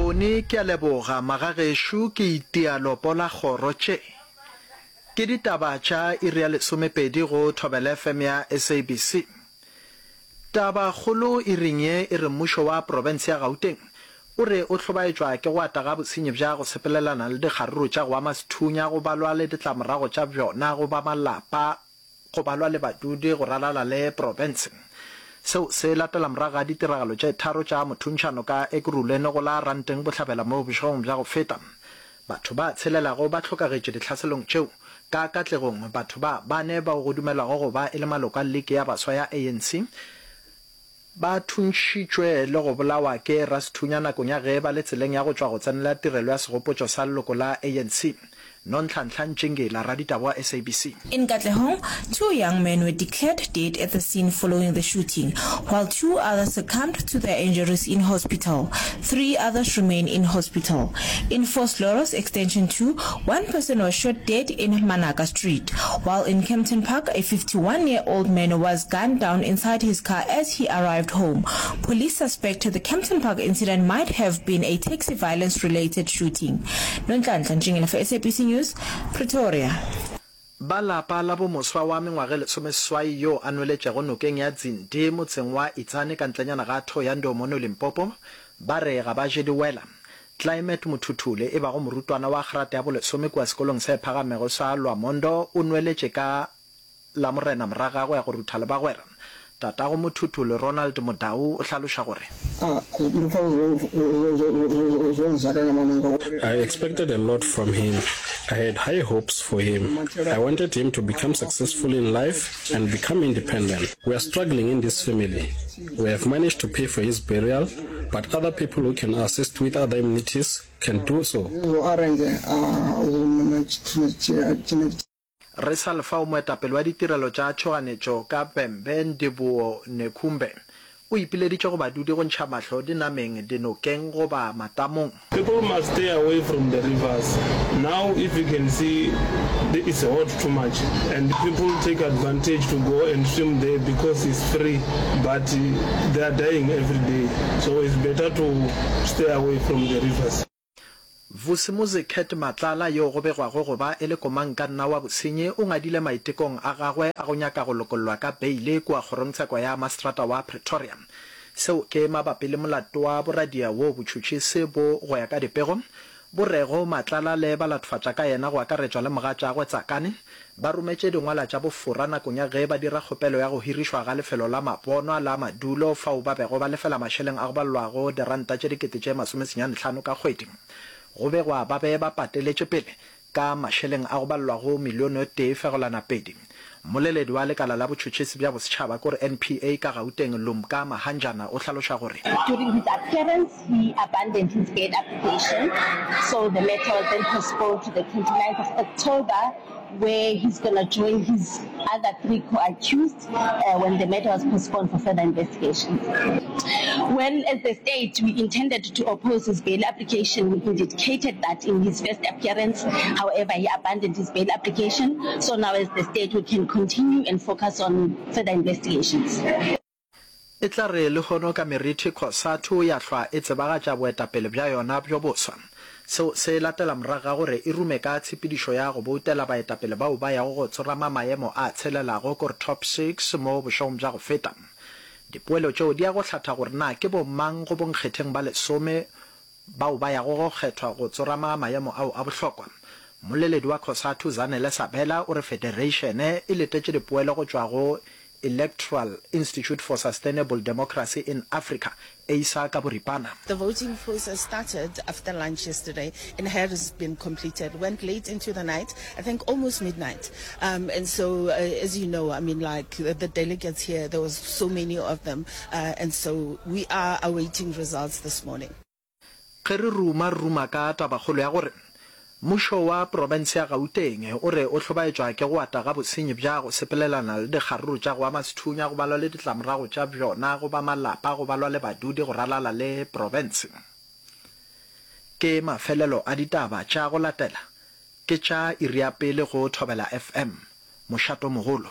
Tony, Ke a leboga, magagešo, ke itia lopo la kgoro tše. Ke ditaba tša iri ya lesomepedi go Thobela FM ya SABC. Tabakgolo iring ye e re mmušo wa profense ya Gauteng o re o hlobaetšwa ke go ata ga bosenyi bja go sepelelana le dikgaruru tša go ama sethunya go balwa le ditlamorago tša bjona go ba malapa go balwa le badudi go ralala le profense. Seo se latela morago ga ditiragalo tše tharo tša mothuntšhano ka Ekurhuleni go la Ranteng Bohlabela mo bošegong bja go feta. Batho ba tshelelago ba hlokagetše ditlhaselong tšeo. Ka katlegong, batho ba bane bao go dumelwago go ba e le maloko a Liki ya Baswa ya ANC ba thuntšhitšwe le go bolawa ke rasethunya nakong ya ge ba le tseleng ya go tšwa go tsenela tirelo ya segopotšo sa leloko la ANC. Nonhlanhla Ntšingila, raditaba wa SABC. In Katlehong, two young men were declared dead at the scene following the shooting, while two others succumbed to their injuries in hospital. Three others remain in hospital. In Vosloorus Extension 2, one person was shot dead in Manaka Street, while in Kempton Park, a 51-year-old man was gunned down inside his car as he arrived home. Police suspect the Kempton Park incident might have been a taxi violence-related shooting. Nonhlanhla Ntšingela for SABC News, Pretoria. Ba lapa la bo moswa wa mengwaga e lesomeseswai yo a nweletšego nokeng ya Dzindi motseng wa Itsane ka ntlenyana ga Thohoyandou mono Limpopo ba re ga ba je diwela. Climate Mothuthule e bago morutwana wa grata ya bolesome kua sekolong se phagamego sa Lwamondo o nweletše ka Lamorena moraga go ya go rutha le bagwera. Tatago Mothuthule Ronald Modau o hlaloša gore. I expected a lot from him. I had high hopes for him. I wanted him to become successful in life and become independent. We are struggling in this family. We have managed to pay for his burial, but other people who can assist with other amenities can do so. Re sa le fao, moetapele wa ditirelo tša tšhoganetšo ka Vhembe, Ndivhuwo Nekhumbe, o ipileditše go badudi go ntšha mahlo dinameng, dinokeng goba matamong. People must stay away from the rivers now if you can see it's hot too much and people take advantage to go and swim there because it's free but they are dying every day so it's better to stay away from the rivers. Vusimuzi Cat Matlala yo go begwago go ba e le komangkanna wa bosenyi o ngadile maitekong a gagwe a go nyaka go lokollwa ka beile kua kgorongtsheko ya maseterata wa Pretoria. Seo ke mabapi le molato wa boradia woo botšhotšhisi bo, go ya ka dipego, bo rego Matlala le balatfatša ka yena go akaretšwa le mogatšagwe Tsakane ba rometše dingwala tša bofora nakong ya ge ba dira kgopelo ya go hirišwa ga lefelo la mabonwa la madulo fao ba bego ba lefela mašeleng a go balelwago diranta tše dikete tše masomesenyanehlano ka kgwedi. Go begwa ba be ba pateletše pele ka mašeleng a go balelwago milione o tee fegelwana pedi. Mmoleledi wa lekala la botšhotšhisi bja bosetšhaba kore NPA ka Gauteng Lumka Mahanjana o hlaloša gore. During his appearance, he abandoned his bail application, so the matter was then postponed to the 29th of October where he's gonna join his other three co-accused uh, when the matter was postponed for further investigations. Well, as the state, we intended to oppose his bail application. We indicated that in his first appearance. However, he abandoned his bail application. So now as the state, we can continue and focus on further investigations. E tla re lehono ka merithi Cosatu ya hlwa e tsebagatša boetapele bja yona bjo boswa. Seo se latela morago ga gore e rume ka tshepedišo ya go boutela baetapele bao ba yago go tsorama maemo a tshelelago kore Top Six mo bošegong bja go feta. Dipoelo tšeo di ya go hlatha gore na ke bomang go bonkgetheng ba lesome bao ba yago go kgethwa go tsorama maemo ao a bohlokwa. Mmoleledi wa Cosatu Zanele Sabela o re federeišene e letetše dipoelo go tšwa go Electoral Institute for Sustainable Democracy in Africa, EISA ka boripana. The voting process started after lunch yesterday and has been completed. Went late into the night, I think almost midnight. Um, and so, uh, as you know, I mean, like the, the delegates here, there was so many of them. Uh, and so we are awaiting results this morning. Ge re ruma, re ruma ka tabakgolo ya gore mmušo wa profense ya Gauteng o re o hlobaetšwa ke go ata ga bosenyi bja go sepelelana le dikgaruru tša go ama sethunya, go balwa le ditlamorago tša bjona go ba malapa, go balwa le badudi go ralala le profense. Ke mafelelo a ditaba tša go latela ke tša iri ya pele go Thobela FM, mošatomogolo.